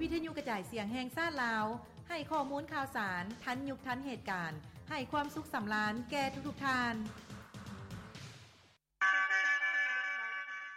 ວິທະຍຸກະຈາຍສຽງແຫ່ງຊາດລາວ ໃຫ້ຂໍ້ມູນຂ່າວສານທັນຍຸກທັນເຫດການ, ໃຫ້ຄວາມສຸກສຳລານແກ່ທຸກໆທ່ານ.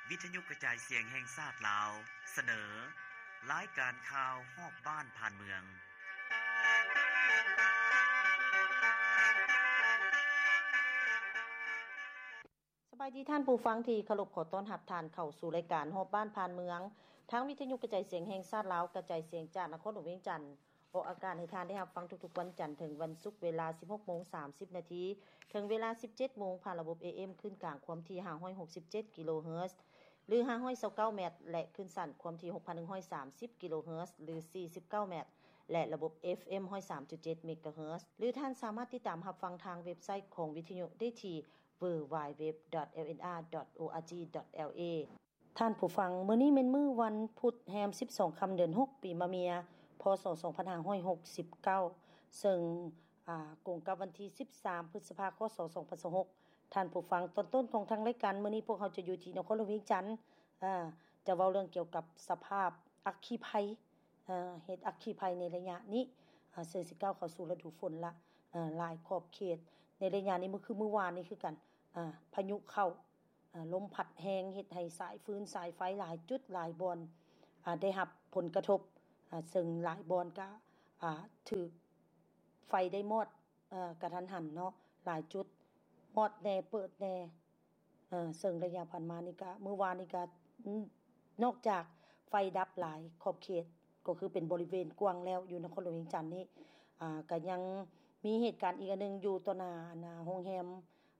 ວິທະຍຸກະຈາຍສຽງແຫ່ງຊາດລາວ ສະເໜີ ລາຍການຂ່າວຮອບບ້ານຜ່ານເມືອງ. ສະບາຍດີທ່ານຜູ້ຟັງທີ່ເຄົາລົບ, ຂໍຕ້ອນຮັບທ່ານເຂົ້າສູ່ລາຍການຮອບບ້ານຜ່ານເມືອງ ທາງວິທະຍຸກະຈາຍສຽງແຫ່ງຊາດລາວ ກະຈາຍສຽງຈາກນະຄອນຫຼວງວຽງຈັນ ອອກອາກາດໃຫ້ທ່ານໄດ້ຮັບຟັງທຸກໆວັນຈັນເຖິງວັນສຸກ ເວລາສິບຫົກໂມງສາມສິບນາທີ ເຖິງເວລາສິບເຈັດໂມງ ຜ່ານລະບົບ ເອເອັມ ຄື້ນກາງຄວາມຖີ່ຫ້າຮ້ອຍຫົກສິບເຈັດກິໂລເຮີດ ຫຼື ຫ້າຮ້ອຍຊາວເກົ້າແມັດ ແລະ ຄື້ນສັ້ນຄວາມຖີ່ຫົກພັນໜຶ່ງຮ້ອຍສາມສິບກິໂລເຮີດ ຫຼື ສີ່ສິບເກົ້າແມັດ ແລະ ລະບົບ ເອຟເອັມ ຮ້ອຍສາມຈຸດເຈັດເມກາເຮີດ ຫຼື ທ່ານສາມາດຕິດຕາມຮັບຟັງທາງເວັບໄຊຂອງວິທະຍຸໄດ້ທີ່ ดัບເບິນຢູດັບເບິນຢູດັບເບິນຢູດັບເບິນຢູ ດອດ ເອລເອັນອາ ດອດ ໂອອາຈີ ດອດ ແອລເອ ທ່ານຜູ້ຟັງ, ມື້ນີ້ແມ່ນມື້ວັນພຸດແຮມສິບສອງຄ່ຳເດືອນຫົກ ປີມະເມຍ ພ.ສ. ສອງພັນຫ້າຮ້ອຍຫົກສິບເກົ້າ ເຊິ່ງ ອາ ກົງກັບວັນທີສິບສາມ ພຶດສະພາ ຄ.ສ. ສອງພັນຊາວຫົກ. ທ່ານຜູ້ຟັງ, ຕອນຕົ້ນຂອງທາງລາຍການມື້ນີ້ ພວກເຮົາຈະຢູ່ທີ່ນະຄອນຫຼວງວຽງຈັນ ອາ ຈະເວົ້າເລື່ອງກ່ຽວກັບສະພາບອັກຄີໄພ ເຫດອັກຄີໄພໃນໄລຍະນີ້ ເຊິ່ງຊິກ້າວເຂົ້າສູ່ລະດູຝົນລະ ຫຼາຍຂອບເຂດໃນໄລຍະນີ້ ຄືມື້ວານນີ້ຄືກັນ ພາຍຸເຂົ້າ ລົມພັດແຮງ ເຮັດໃຫ້ສາຍຟືນສາຍໄຟຫຼາຍຈຸດຫຼາຍບ່ອນ ໄດ້ຮັບຜົນກະທົບ ເຊິ່ງຫຼາຍບ່ອນກະຖືກໄຟໄດ້ມອດ ເອີ ກະທັນຫັນເນາະ ຫຼາຍຈຸດມອດແດ່ເປີດແດ່ ເອີ ເຊິ່ງໄລຍະຜ່ານມານີ້ກະ ມື້ວານນີ້ກະ ນອກຈາກໄຟດັບຫຼາຍຂອບເຂດ ກໍຄືເປັນບໍລິເວນກວ້າງແລ້ວ ຢູ່ນະຄອນຫຼວງວຽງຈັນນີ້ ອາ ກະຍັງມີເຫດການອີກອັນໜຶ່ງ ຢູ່ຕໍ່ໜ້າ ອັນ ໂຮງແຮມ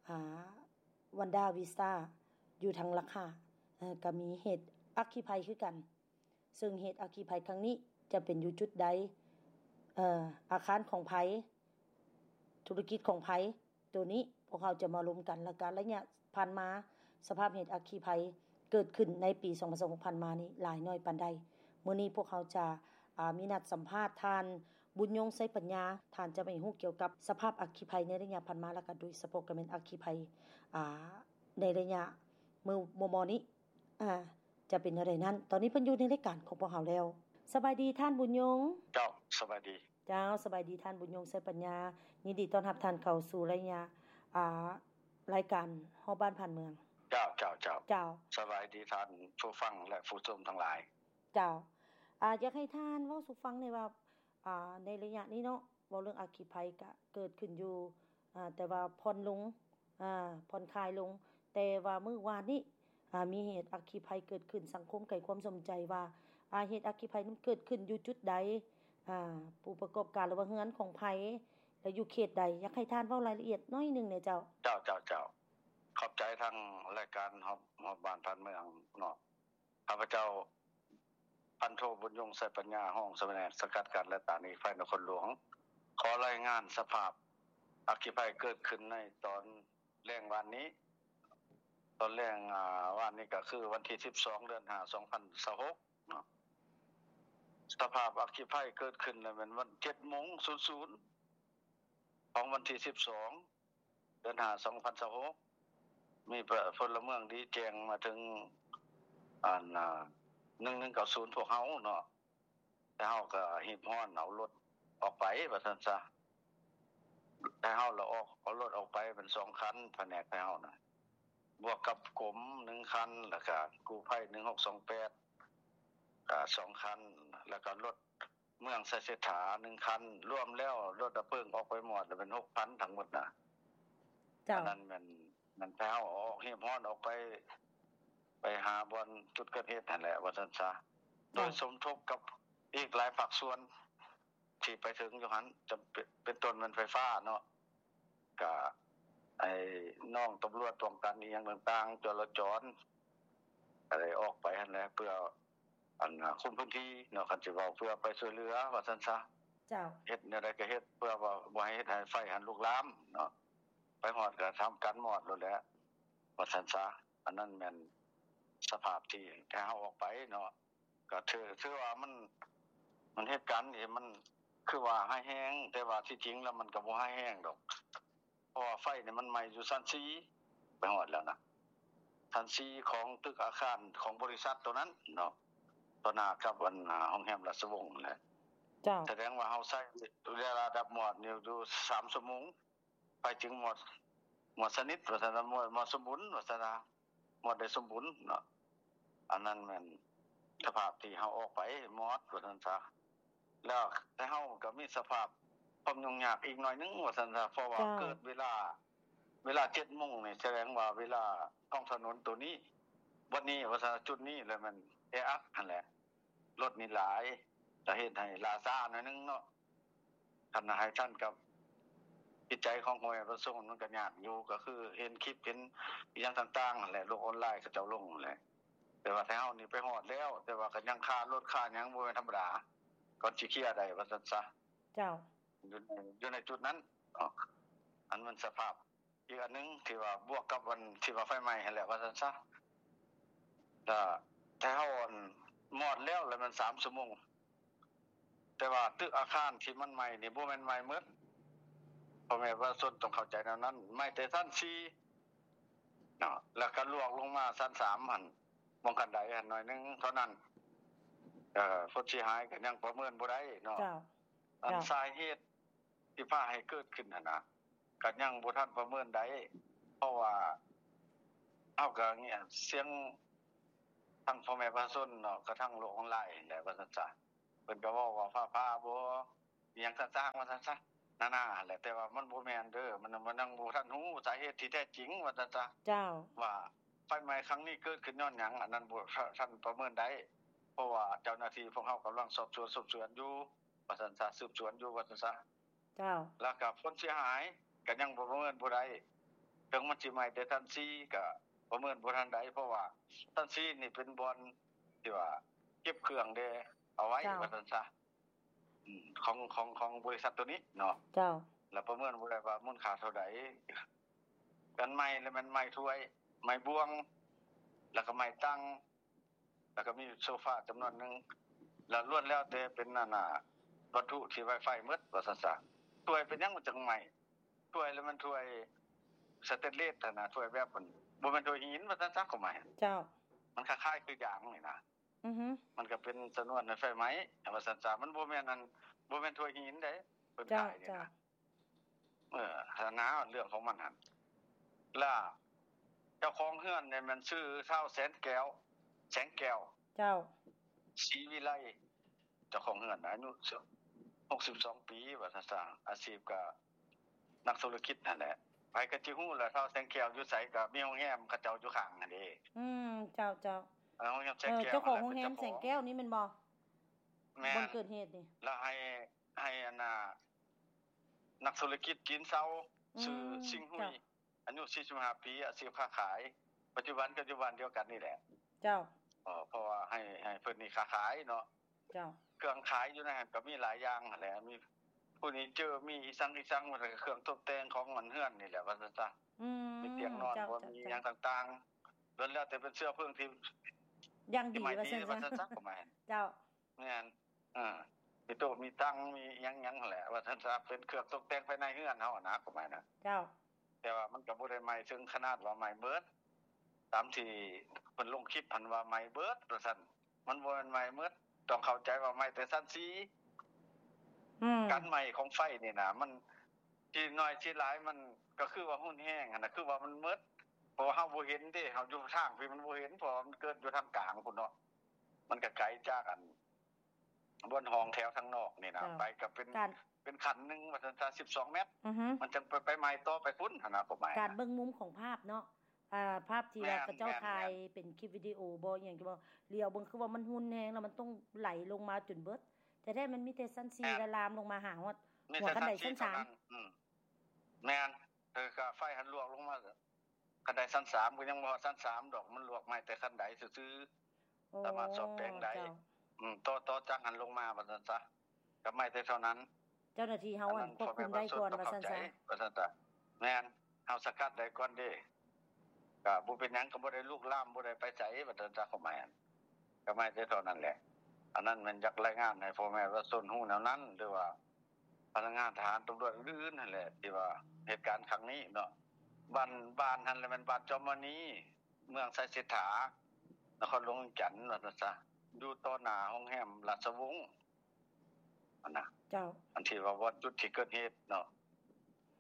ອາ ວັນດາວິສຕາ ຢູ່ທາງຫຼັກຫ້າ ເອີ ກະມີເຫດອັກຄີໄພຄືກັນ. ເຊິ່ງເຫດອັກຄີໄພຄັ້ງນີ້ຈະເປັນຢູ່ຈຸດໃດ ເອີ ອາຄານຂອງໃຜ ທຸລະກິດຂອງໃຜ ໂຕນີ້ພວກເຮົາຈະມາລົມກັນ ແລ້ວກະໄລຍະຜ່ານມາ ສະພາບເຫດອັກຄີໄພເກີດຂຶ້ນໃນປີສອງພັນຊາວຫົກຜ່ານມານີ້ຫຼາຍໜ້ອຍປານໃດ. ມື້ນີ້ພວກເຮົາຈະ ອາ ມີນັດສຳພາດທ່ານ ບຸນຍົງ ໄຊປັນຍາ ທ່ານຈະມາໃຫ້ຮູ້ກ່ຽວກັບສະພາບອັກຄີໄພໃນໄລຍະຜ່ານມາ ແລ້ວກະໂດຍສະເພາະກະແມ່ນອັກຄີໄພ ອາ ໃນໄລຍະມື້ມໍ່ໆນີ້ ອາ ຈະເປັນແນວໃດນັ້ນ ຕອນນີ້ເພິ່ນຢູ່ໃນລາຍການຂອງພວກເຮົາແລ້ວ. ສະບາຍດີທ່ານບຸນຍົງ. ເຈົ້າ ສະບາຍດີ. ເຈົ້າ ສະບາຍດີທ່ານບຸນຍົງ ໄຊປັນຍາ. ຍິນດີຕ້ອນຮັບທ່ານເຂົ້າສູ່ໄລຍະ ອາ ລາຍການຮອບບ້ານຜ່ານເມືອງ. ເຈົ້າ ເຈົ້າ ເຈົ້າ ເຈົ້າ. ສະບາຍດີທ່ານຜູ້ຟັງ ແລະ ຜູ້ຊົມທັງຫຼາຍ. ເຈົ້າ ອາ ຢາກໃຫ້ທ່ານເວົ້າສູ່ຟັງແດ່ວ່າ ອາ ໃນໄລຍະນີ້ເນາະ ເວົ້າເລື່ອງອັກຄີໄພກະເກີດຂຶ້ນຢູ່ ອາ ແຕ່ວ່າຜ່ອນລົງ ອາ ຜ່ອນຄາຍລົງ ແຕ່ວ່າມື້ວານນີ້ ອາ ມີເຫດອັກຄີໄພເກີດຂຶ້ນ ສັງຄົມໃຫ້ຄວາມສົນໃຈວ່າ ອາ ເຫດອັກຄີໄພນັ້ນເກີດຂຶ້ນຢູ່ຈຸດໃດ ອາ ຜູ້ປະກອບການ ຫຼືວ່າເຮືອນຂອງໃຜ ແລະ ຢູ່ເຂດໃດ? ຢາກໃຫ້ທ່ານເວົ້າລາຍລະອຽດໜ້ອຍໜຶ່ງແດ່ເຈົ້າ. ເຈົ້າ ເຈົ້າ ເຈົ້າ. ຂອບໃຈທາງລາຍການຮອບ ຮອບບ້ານຜ່ານເມືອງເນາະ. ຂ້າພະເຈົ້າ ພັນໂທ ບຸນຍົງ ໄຊປັນຍາ ຮອງສະແໜກສະກັດກັ້ນ ແລະ ຕ້ານຮີດໄຟນະຄອນຫຼວງ ຂໍລາຍງານສະພາບອັກຄີໄພເກີດຂຶ້ນໃນຕອນແລງວານນີ້ ຕອນແລງ ອາ ວານນີ້ກະຄືວັນທີສິບສອງ ເດືອນຫ້າ ສອງພັນຊາວຫົກເນາະ. ສະພາບອັກຄີໄພເກີດຂຶ້ນລະແມ່ນວັນ ເຈັດໂມງສູນສູນ ຂອງວັນທີສິບສອງ ເດືອນຫ້າ ສອງພັນຊາວຫົກ ມີ ເອີ ພົນລະເມືອງດີແຈ້ງມາເຖິງ ອັນ ໜຶ່ງໜຶ່ງເກົ້າສູນ ພວກເຮົາເນາະ ແຕ່ເຮົາກະຮີບຮ້ອນເອົາລົດອອກໄປວ່າຊັ້ນຊະ ແຕ່ເຮົາລະອອກ ເອົາລົດອອກໄປເປັນສອງຄັນ ພະແນກໄພເຮົານະ ບວກກັບກົມໜຶ່ງຄັນ ແລ້ວກະກູ້ໄພໜຶ່ງຫົກສອງແປດ ກະສອງຄັນ ແລ້ວກະລົດ ເມືອງໄຊເສດຖາ ໜຶ່ງຄັນ ລວມແລ້ວລົດດັບເພີງອອກໄປໝົດ ເປັນຫົກພັນທັງໝົດນະ. ເຈົ້າ. ອັນນັ້ນແມ່ນ ແມ່ນພວກເຮົາອອກ ຮີບຮ້ອນອອກໄປ ໄປຫາບ່ອນຈຸດເກີດເຫດຫັ້ນແຫຼະ ວ່າຊັ້ນຊະ. ເຈົ້າ. ໂດຍສົມທົບກັບອີກຫຼາຍພາກສ່ວນທີ່ໄປເຖິງຢູ່ຫັ້ນ ຈະເປັນ ເປັນຕົ້ນແມ່ນໄຟຟ້າເນາະ ກະ ໄອ້ ນ້ອງຕຳຫຼວດປ້ອງກັນອີ່ຫຍັງຕ່າງໆ ຈະລາຈອນ ກະໄດ້ອອກໄປຫັ້ນແຫຼະ ເພື່ອ ອັນ ຄຸມພື້ນທີ່ເນາະ ຄັນຊິເວົ້າ ເພື່ອໄປຊ່ວຍເຫຼືອວ່າຊັ້ນຊະ. ເຈົ້າ. ເຮັດແນວໃດກະເຮັດ ເພື່ອວ່າບໍ່ໃຫ້ເຮັດໃຫ້ໄຟຫັ້ນລຸກລາມເນາະ ໄປຮອດກະທຳການມອດໂລດແຫຼະ ວ່າຊັ້ນຊະ. ອັນນັ້ນແມ່ນສະພາບທີ່ໃຫ້ເຮົາອອກໄປເນາະ ກະຖື ຖືວ່າມັນ ມັນເຫດການນີ້ມັນຄືວ່າຮ້າຍແຮງ ແຕ່ວ່າທີ່ຈິງແລ້ວມັນກະບໍ່ຮ້າຍແຮງດອກ ເພາະວ່າໄຟນີ້ມັນໄໝ້ຢູ່ຊັ້ນສີ່ ໄປຮອດແລ້ວນະ ຊັ້ນສີ່ຂອງຕຶກອາຄານຂອງບໍລິສັດໂຕນັ້ນເນາະ. ຕໍ່ໜ້າກັບອັນ ອ່າ ໂຮງແຮມລາຊະວົງນັ້ນແຫຼະ. ເຈົ້າ. ສະແດງວ່າເຮົາໃຊ້ເວລາດັບມອດຢູ່ ຢູ່ສາມຊົ່ວໂມງ ໄຟຈຶ່ງມອດ ມອດສະໜິດວ່າຊັ້ນ ມອດ ມອດສົມບູນວ່າຊັ້ນ ມອດໄດ້ສົມບູນເນາະ. ອັນນັ້ນແມ່ນສະພາບທີ່ເຮົາອອກໄປມອດວ່າຊັ້ນຊະ. ແລ້ວແຕ່ເຮົາກໍມີສະພາບຄວາມຫຍຸ້ງຍາກອີກໜ້ອຍໜຶ່ງວ່າຊັ້ນຊະ ເພາະວ່າ ເຈົ້າ ເກີດເວລາ ເວລາເຈັດໂມງນີ້ ສະແດງວ່າເວລາທ້ອງຖະໜົນໂຕນີ້ ບ່ອນນີ້ວ່າຊັ້ນ ຈຸດນີ້ແຫຼະ ແມ່ນແອອັດຫັ້ນແຫຼະ ລົດນີ້ຫຼາຍ ກໍເຮັດໃຫ້ລ່າຊ້າໜ້ອຍໜຶ່ງເນາະ. ຄັນໃຫ້ທັນກັບຈິດໃຈຂອງພໍ່ແມ່ປະຊາຊົນ ມັນກໍຍາກຢູ່ ກໍຄືເຫັນຄລິບ ເຫັນອີ່ຫຍັງຕ່າງໆຫັ້ນແຫຼະ ໂລກອອນລາຍເຂົາເຈົ້າລົງຫັ້ນແຫຼະ. ແຕ່ວ່າໄທເຮົານີ້ໄປຮອດແລ້ວ ແຕ່ວ່າກໍຍັງຄາລົດຄາຫຍັງ ບໍ່ແມ່ນທຳມະດາ ກ່ອນຊິເຄຍໄດ້ວ່າຊັ້ນຊະ. ເຈົ້າ. ຢູ່ໃນ ຢູ່ໃນຈຸດນັ້ນເນາະ ອັນມັນສະພາບ ອີກອັນໜຶ່ງທີ່ວ່າບວກກັບອັນທີ່ວ່າໄຟໄໝ້ຫັ້ນແຫຼະວ່າຊັ້ນຊະ. ແລ້ວແຕ່ເຮົາອັນມອດແລ້ວ ແລ້ວມັນສາມຊົ່ວໂມງ ແຕ່ວ່າຕຶກອາຄານທີ່ມັນໄໝ້ນີ້ບໍ່ແມ່ນໄໝ້ໝົດ ພໍ່ແມ່ປະຊາຊົນຕ້ອງເຂົ້າໃຈແນວນັ້ນ. ໄໝ້ແຕ່ຊັ້ນສີ່ເນາະ ແລ້ວກໍລວກລົງມາຊັ້ນສາມຫັ້ນ ໝ່ອງຂັ້ນໄດຫັ້ນໜ້ອຍໜຶ່ງເທົ່ານັ້ນ. ເອີ ຜົນເສຍຫາຍກໍຍັງປະເມີນບໍ່ໄດ້ເນາະ. ເຈົ້າ. ອັນ ເຈົ້າ. ສາເຫດທີ່ພາໃຫ້ເກີດຂຶ້ນຫັ້ນນະ ກໍຍັງບໍ່ທັນປະເມີນໄດ້ ເພາະວ່າເຮົາກໍງຽບສຽງທັງພໍ່ແມ່ປະຊາຊົນເນາະ ກະທັງໂລກອອນລາຍຫັ້ນແຫຼະວ່າຊັ້ນຊະ. ເພິ່ນກໍເວົ້າວ່າຟ້າຜ່າບໍ່ ອີ່ຫຍັງຕ່າງໆວ່າຊັ້ນຊະ ນາໆຫັ້ນແຫຼະ ແຕ່ວ່າມັນບໍ່ແມ່ນເດີ ມັນ ມັນຍັງບໍ່ທັນຮູ້ສາເຫດທີ່ແທ້ຈິງວ່າຊັ້ນຊະ. ເຈົ້າ. ວ່າໄຟໄໝ້ຄັ້ງນີ້ເກີດຂຶ້ນຍ້ອນຫຍັງ ອັນນັ້ນບໍ່ ທ່ານປະເມີນໄດ້ ເພາະວ່າເຈົ້າໜ້າທີ່ພວກເຮົາກຳລັງສອບສວນ ສືບສວນຢູ່ວ່າຊັ້ນຊະ ສືບສວນຢູ່ວ່າຊັ້ນຊະ. ເຈົ້າ. ແລ້ວກໍຜົນເສຍຫາຍກໍຍັງປະເມີນບໍ່ໄດ້ ເຖິງມັນຊິໄໝ້ແຕ່ຊັ້ນສີ່ກໍປະເມີນບໍ່ທັນໄດ້ ເພາະວ່າຊັ້ນສີ່ນີ້ເປັນບ່ອນທີ່ວ່າເກັບເຄື່ອງເດ້ ເອົາໄວ້ ເຈົ້າ ວ່າຊັ້ນຊະ ອືມ ຂອງ ຂອງ ຂອງບໍລິສັດໂຕນີ້ເນາະ. ເຈົ້າ. ແລ້ວປະເມີນບໍ່ໄດ້ວ່າມູນຄ່າເທົ່າໃດ. ການໄໝ້ລະແມ່ນໄໝ້ຖ້ວຍ ໄໝ້ບ່ວງ ແລ້ວກໍໄໝ້ຕັ່ງ ແລ້ວກໍມີໂຊຟາຈຳນວນໜຶ່ງ ແລ້ວລ້ວນແລ້ວແຕ່ເປັນອັນນ່າ ວັດຖຸທີ່ໄວໄຟໝົດວ່າຊັ້ນຊະ. ຖ້ວຍເປັນຫຍັງມັນຈັ່ງໄໝ້? ຖ້ວຍລະແມ່ນຖ້ວຍສະເຕນເລດຫັ້ນນະ ຖ້ວຍແບບມັນບໍ່ແມ່ນຖ້ວຍຫີນວ່າຊັ້ນຊະ ຄວາມໝາຍ. ເຈົ້າ. ມັນຄ້າຍໆຄືຢາງນີ້ນະ. ອືຮຶ. ມັນກໍເປັນຊະນວນໃນໄຟໄໝ້ວ່າຊັ້ນຊະ ມັນບໍ່ແມ່ນອັນ ບໍ່ແມ່ນຖ້ວຍຫີນເດ້ ເພິ່ນຂາຍນີ້ນະ. ເຈົ້າ. ເອີ ຫັ້ນນະ ເລື່ອງຂອງມັນຫັ້ນ ລະເຈົ້າຂອງເຮືອນນີ້ແມ່ນຊື່ທ້າວແສນແກ້ວ ແສງແກ້ວ. ເຈົ້າ. ສີວິໄລ ເຈົ້າຂອງເຮືອນອາຍຸຫົກສິບສອງປີ ວ່າຊັ້ນຊະ ອາຊີບກໍນັກທຸລະກິດຫັ້ນແຫຼະ ໃຜກໍຊິຮູ້ແຫຼະ ທ້າວແສງແກ້ວຢູ່ໃສ ກໍມີໂຮງແຮມເຂົາເຈົ້າຢູ່ຂ້າງຫັ້ນເດ້. ອືມ ເຈົ້າ ເຈົ້າ. ເອີ ໂຮງແຮມແສງແກ້ວ ເອີ ເຈົ້າຂອງໂຮງແຮມແສງແກ້ວນີ້ແມ່ນບໍ່? ແມ່ນ ບ່ອນເກີດເຫດນີ້ ລະໃຫ້ ໃຫ້ອັນນ່າ ນັກທຸລະກິດຈີນເຊົາ ອືມ ຊື່ຊິງຫຸຍ ເຈົ້າ ອາຍຸສີ່ສິບຫ້າປີ ອາຊີບຄ້າຂາຍ ປັດຈຸບັນກໍຢູ່ບ້ານດຽວກັນນີ້ແຫຼະ. ເຈົ້າ. ເອີ ເພາະວ່າໃຫ້ ໃຫ້ເພິ່ນນີ້ຄ້າຂາຍເນາະ. ເຈົ້າ. ເຄື່ອງຂາຍຢູ່ໃນຫັ້ນກໍມີຫຼາຍຢ່າງຫັ້ນແຫຼະ ມີເຟີນີເຈີ ມີອີ່ສັງອີ່ສັງ ມັນກໍເຄື່ອງຕົບແຕ່ງຂອງອັນເຮືອນນີ້ແຫຼະວ່າຊັ້ນຊະ. ອືມ ມີຕຽງນອນ ເຈົ້າ ບໍ່ ເຈົ້າ ມີຫຍັງຕ່າງໆ ລ້ວນແລ້ວແຕ່ເປັນເຊື້ອເພີງທີ່ ຢ່າງດີ ທີ່ໄມ້ດີວ່າຊັ້ນຊະ ວ່າຊັ້ນຊະ ກໍໝາຍ. ເຈົ້າ. ແມ່ນ ເອີ ມີໂຕະມີຕັ່ງ ມີຫຍັງໆຫັ້ນແຫຼະ ວ່າຊັ້ນຊະ ເປັນເຄື່ອງຕົກແຕ່ງພາຍໃນເຮືອນເຮົາຫັ້ນນະ ຄວາມໝາຍນະ. ເຈົ້າ. ແຕ່ວ່າມັນກໍບໍ່ໄດ້ໄໝ້ເຖິງຂະໜາດວ່າໄໝ້ເບິດ ຕາມທີ່ເພິ່ນລົງຄລິບຫັ້ນວ່າໄໝ້ເບິດວ່າຊັ້ນ ມັນບໍ່ແມ່ນໄໝ້ເບິດ ຕ້ອງເຂົ້າໃຈວ່າໄໝ້ແຕ່ຊັ້ນສີ່. ອືມ ການໄໝ້ຂອງໄຟນີ້ນະ ມັນທີ່ໜ້ອຍທີ່ຫຼາຍ ມັນກໍຄືວ່າຮຸນແຮງຫັ້ນນະ ຄືວ່າມັນເໝິດ ເພາະວ່າເຮົາບໍ່ເຫັນເດ້ ເຮົາຢູ່ທາງພີ້ມັນບໍ່ເຫັນ ເພາະວ່າມັນເກີດຢູ່ທາງກາງພຸ້ນເນາະ ມັນກໍໄກຈາກອັນ ບ່ອນຫ້ອງແຖວທາງນອກນີ້ນະ ເຈົ້າ ໄປກໍເປັນ ການ ເປັນຂັ້ນໜຶ່ງວ່າຊັ້ນຊະ ສິບສອງແມັດ ອືຮຶ ມັນຈັ່ງໄປ ໄປໄໝ້ຕໍ່ໄປພຸ້ນຫັ້ນນະ ຄວາມໝາຍ ການເບິ່ງມຸມຂອງພາບເນາະ ອ່າ ພາບທີ່ວ່າ ແມ່ນ ເຂົາເຈົ້າ ແມ່ນ ຖ່າຍ ແມ່ນ ເປັນຄລິບວິດີໂອບໍ່ ອີ່ຫຍັງກໍບໍ່ ຫຼຽວເບິ່ງຄືວ່າມັນຮຸນແຮງ ແລ້ວມັນຕ້ອງໄຫຼລົງມາຈົນເບິດ ແທ້ໆມັນມີແຕ່ຊັ້ນສີ່ ແມ່ນ ແລະ ລາມລົງມາຫາຮອດຫົວຄັນໄດຊັ້ນສາມ ອືມ ແມ່ນ ເອີ ກະໄຟຫັ້ນລວກລົງມາ ຄັນໄດຊັ້ນສາມກໍຍັງບໍ່ຮອດຊັ້ນສາມດອກ ມັນລວກໄໝ້ແຕ່ຄັນໄດຊື່ໆ ໂອ້ ສາມາດສ້ອມແປງໄດ້ ເຈົ້າ ອືມ ຕໍ່ ຕໍ່ຈາກຫັ້ນລົງມາວ່າຊັ້ນຊະ ກໍໄໝ້ແຕ່ເທົ່ານັ້ນ ເຈົ້າໜ້າທີ່ເຮົາ ອັນນັ້ນ ອັນ ຄວບຄຸມໄດ້ກ່ອນວ່າຊັ້ນຊະ ວ່າຊັ້ນຊະ ແມ່ນ ເຮົາສະກັດໄດ້ກ່ອນເດ້ ກໍບໍ່ເປັນຫຍັງ ກໍບໍ່ໄດ້ລຸກລາມ ບໍ່ໄດ້ໄປໃສວ່າຊັ້ນຊະ ຄວາມໝາຍ ກໍໄໝ້ແຕ່ເທົ່ານັ້ນແຫຼະ ອັນນັ້ນແມ່ນຢາກລາຍງານໃຫ້ພໍ່ແມ່ປະຊາຊົນຮູ້ແນວນັ້ນ ຫຼືວ່າ ພະນັກງານທະຫານຕຳຫຼວດອື່ນໆຫັ້ນແຫຼະ ທີ່ວ່າເຫດການຄັ້ງນີ້ເນາະ ບ້ານ ບ້ານຫັ້ນລະແມ່ນບ້ານຈອມມະນີ ເມືອງໄຊເສດຖາ ນະຄອນຫຼວງວຽງຈັນ ວ່າຊັ້ນຊະ ຢູ່ຕໍ່ໜ້າໂຮງແຮມລາຊະວົງຫັ້ນນະ ເຈົ້າ ອັນທີ່ວ່າບ່ອນຈຸດທີ່ເກີດເຫດເນາະ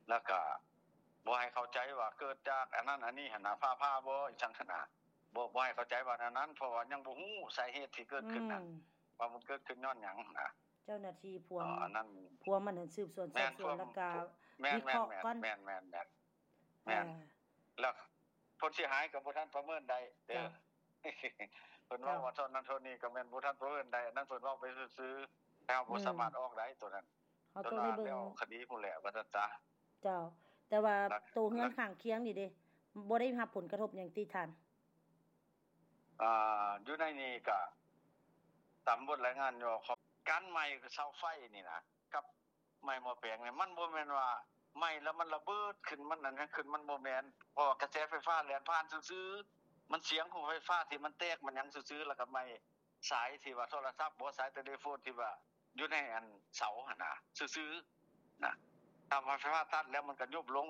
ແລ້ວກະບໍ່ໃຫ້ເຂົ້າໃຈວ່າເກີດຈາກອັນນັ້ນອັນນີ້ຫັ້ນນະ ຟ້າຜ່າບໍ່ ອີ່ຫຍັງຫັ້ນນະ ບໍ່ ບໍ່ໃຫ້ເຂົ້າໃຈວ່າແນວນັ້ນ ເພາະວ່າຍັງບໍ່ຮູ້ສາເຫດທີ່ເກີດຂຶ້ນນັ້ນ ອືມ ວ່າມັນເກີດຂຶ້ນຍ້ອນຫຍັງນະ ເຈົ້າໜ້າທີ່ພວມ ເອີ ອັນນັ້ນ ພວມອັນນັ້ນ ສືບສວນ ແມ່ນ ສອບສວນ ພວມ ແລ້ວກະ ແມ່ນ ວິເຄາະກ່ອນ ແມ່ນ ແມ່ນ ແມ່ນ ແມ່ນ ແມ່ນ ອ່າ ແລ້ວຜົນເສຍຫາຍກໍບໍ່ທັນປະເມີນໄດ້ເດີ ເຈົ້າ ເພິ່ນເວົ້າວ່າເທົ່ານັ້ນເທົ່ານີ້ກໍແມ່ນບໍ່ທັນປະເມີນໄດ້ ອັນນັ້ນເພິ່ນເວົ້າໄປຊື່ໆ ແຕ່ເຮົາບໍ່ ອືມ ສາມາດອອກໄດ້ໂຕນັ້ນ ເຮົາຕ້ອງໄດ້ເບິ່ງ ເຈົ້າ ຄະດີພຸ້ນແຫຼະວ່າຊັ້ນຊະ ເຈົ້າ ແຕ່ວ່າ ແລ້ວ ໂຕເຮືອນຂ້າງຄຽງນີ້ເດ ບໍ່ໄດ້ຮັບຜົນກະທົບຫຍັງຕິທ່ານ? ອ່າ ຢູ່ໃນນີ້ກະຕາມບົດລາຍງານຢູ່ ການໄໝ້ເສົາໄຟນີ້ນະ ກັບໄໝ້ໝໍ້ແປງນີ້ ມັນບໍ່ແມ່ນວ່າໄໝ້ແລ້ວມັນລະເບີດຂຶ້ນ ມັນອັນຫຍັງຂຶ້ນ ມັນບໍ່ແມ່ນ ເພາະວ່າກະແສໄຟຟ້າແລ່ນຜ່ານຊື່ໆ ມັນສຽງຂອງໄຟຟ້າທີ່ມັນແຕກມັນຫຍັງຊື່ໆ ແລ້ວກະໄໝ້ສາຍທີ່ວ່າໂທລະສັບບໍ ສາຍເຕເລໂຟນທີ່ວ່າ ຢູ່ໃນອັນເສົາຫັ້ນນະ ຊື່ໆ ນະ ຖ້າວ່າໄຟຟ້າຕັດແລ້ວມັນກໍຍຸບລົງ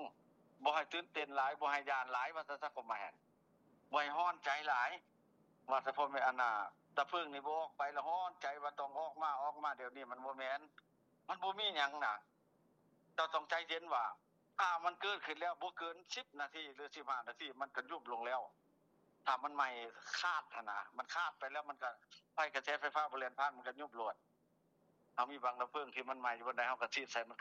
ບໍ່ໃຫ້ຕື່ນເຕັ້ນຫຼາຍ ບໍ່ໃຫ້ຢ້ານຫຼາຍ ວ່າຊັ້ນຊະ ຄວາມໝາຍຫັ້ນ ບໍ່ໃຫ້ຮ້ອນໃຈຫຼາຍ ວ່າສະເພາະແມ່ນອັນນ່າ ດາບເພີງນີ້ບໍ່ອອກໄປລະຮ້ອນໃຈວ່າຕ້ອງອອກມາ ອອກມາ ດຽວນີ້ມັນບໍ່ແມ່ນ ມັນບໍ່ມີຫຍັງນະ ເຈົ້າຕ້ອງໃຈເຢັນວ່າ ຖ້າມັນເກີດຂຶ້ນແລ້ວບໍ່ເກີນສິບນາທີ ຫຼື ສິບຫ້ານາທີ ມັນກໍຍຸບລົງແລ້ວ ຖ້າມັນໄໝ້ຂາດຫັ້ນນະ ມັນຂາດໄປແລ້ວ ມັນກໍ ໄຟ ກະແສໄຟຟ້າບໍ່ແລ່ນຜ່ານ ມັນກໍຍຸບໂລດ ເຮົາມີບັງດາບເພີງທີ່ມັນໄໝ້ຢູ່ບ່ອນໃດ ເຮົາກໍສີດໃສ່ມັນ